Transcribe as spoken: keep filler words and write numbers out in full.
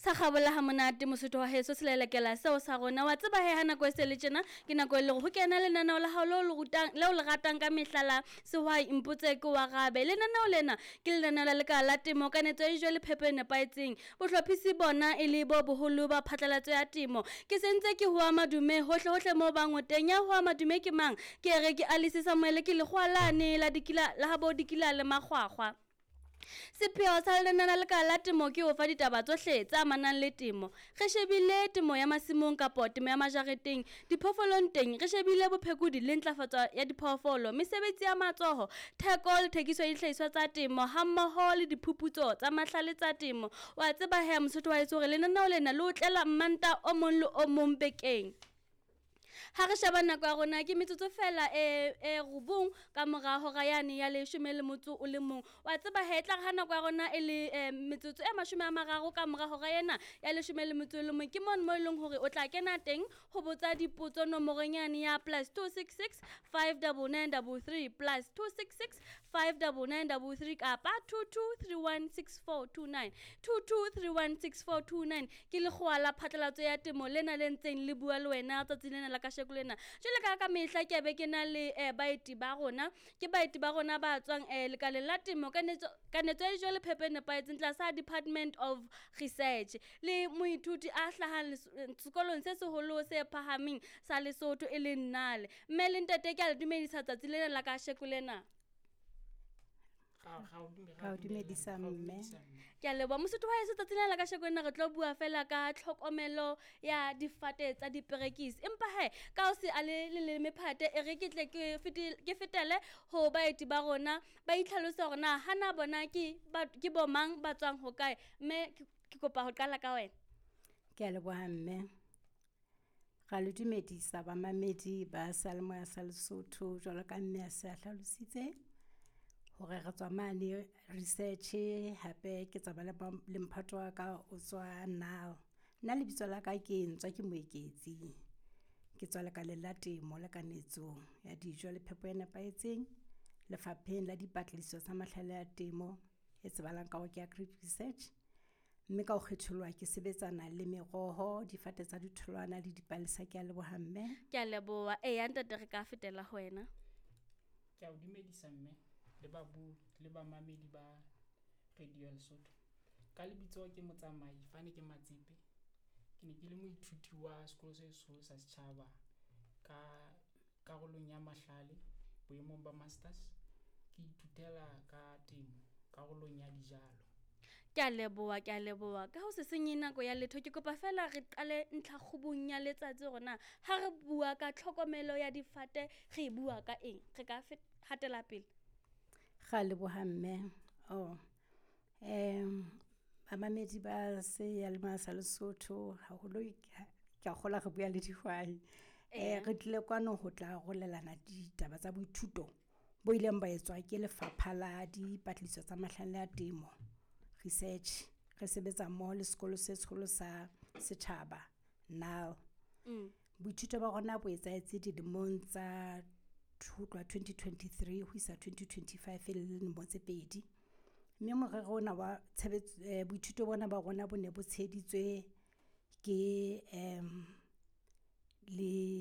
Sa kgabola ha monate Mosotho wa heso, selelekela seo sa rona. Wa tseba he ha nako e se le tjena, ke nako e leng ho kena lenaneo la hao leo le rutang, leo le ratang ka mehla la Sehwai Mpotse Ke o Arabe. Lenaneo lena ke lenaneo la lekala la temo, kanetso ya dijo le phepo e nepahetseng. Bohlophisi bona e le bo boholo ba phatlalatso ya temo. Ke sentse ke hoa madume hohle hohle moo bang o teng. Ya hoa madume ke mang? Ke re ke Alice Samuel, ke lekgowa lane la dikila la habo dikila le makgwakgwa. Sepheo sa lenaneo la lekala la temo ke ho fa ditaba tsohle tse amanang le temo. Re shebile temo ya masimong kapo temo ya majareteng, diphoofolong teng re shebile bophekodi le ntlafatso ya diphoofolo, mesebetsi ya matsoho, theko le thekiso ya dihlahiswa tsa temo hammoho le diphuputso tsa mahlale tsa temo. Wa tseba he Mosotho wa heso hore lenaneo lena le o tlela Mmanta o mong le o mong bekeng. Ha re sheba nako ya rona ke metsotso fela e e robong ka mora hora yane ya leshome le motso o le mong. Wa tseba he tla re ha nako ya rona e le eh, metsotso e mashome a mararo ka mora hora ena ya leshome le motso o le mong, ke mono mo e leng hore o tla kena teng ho botsa dipotso nomorong yane ya plus two six six five double nine double three, plus two six six five double nine double three kapa two two three one six four two nine, two two three one six four two nine. Ke lekgowa la phatlalatso ya temo lena le ntseng le bua le wena tsatsing lena la kasheko lena. Jwale ka ka mehla ke be ke na le eh, baeti ba rona, ke baeti ba rona ba tswang eh, lekaleng la temo, kanetso kanetso ya dijo le phepo e nepahetseng tlasa Department of Research, le moithuti a hlahang les- sekolong se seholo se phahameng sa Lesotho e leng Nale. Mme le ntate, ke a le dumedisa tsatsi lena la kasheko lena. Ra o dumedisa, mme. Ke a leboha, Mosotho wa heso. Tsatsi lena la kasheko lena re tlo bua fela ka tlhokomelo ya difate tsa diperekisi, empa he ka ho se a le leleme phate, e re ke tle ke fete- ke fetele ho baeti ba rona ba itlhalose hore na hana bona ke ba- ke bo mang, ba tswang hokae. Mme ke ke kopa ho qala ka wena. Ke a leboha, mme. Ra le dumedisa bamamedi ba seyalemoya sa Lesotho. Jwalo ka mme a se a hlalositse hore re tswa mane research, hape ke tsamaya le ba- le mphato wa ka o tswa N A L. Nna lebitso la ka ke Ntswa ke Moeketsi. Ke tswa lekaleng la temo le kanetso ya dijo le phepo e nepahetseng, lefapheng la dipatlisiso tsa mahlale a temo e tsebahalang ka hore ke Agri Research. Mme ka ho kgetholoha ke sebetsana le meroho, difate tsa ditholwana le dipalesa. Ke a leboha, mme. Ke a leboha. Eya ntate, re ka fetela ho wena. Ke a o dumedisa, mme, le babui le bamamedi ba Radio ya Lesotho. Ka lebitso ke Motsamai Fane ke Matsepe. Ke ne ke le moithuti wa sekolo se seholo sa setjhaba ka karolong ya mahlale boemong ba masters, ke ithutela ka temo karolong ya dijalo. Ke a leboha, ke a leboha. Ka ho se senye nako ya letho, ke kopa fela re qale ntlhakgubung ya letsatsi hore na ha re bua ka tlhokomelo ya difate re e bua ka eng. Re ka fet- hatela pele. Ra leboha, mme. Oh, um bamamedi ba seyalemoya sa Lesotho, haholo ke a kgolwa re bua le dihwai. Eh Eya. Re tlile kwano ho tla arolelana ditaba tsa boithuto bo ileng ba etswa ke lefapha la dipatlisiso tsa mahlale a temo research, re sebetsa mmoho le sekolo se seholo sa setjhaba N A L. Mm. Boithuto ba rona bo etsahetse dilemong tsa ho tloha twenty twenty-three ho isa twenty twenty-five, e le lemo tse pedi. Mme morero ona wa tshebetso, eh, boithuto bona ba rona bo ne bo tsheheditswe ke um le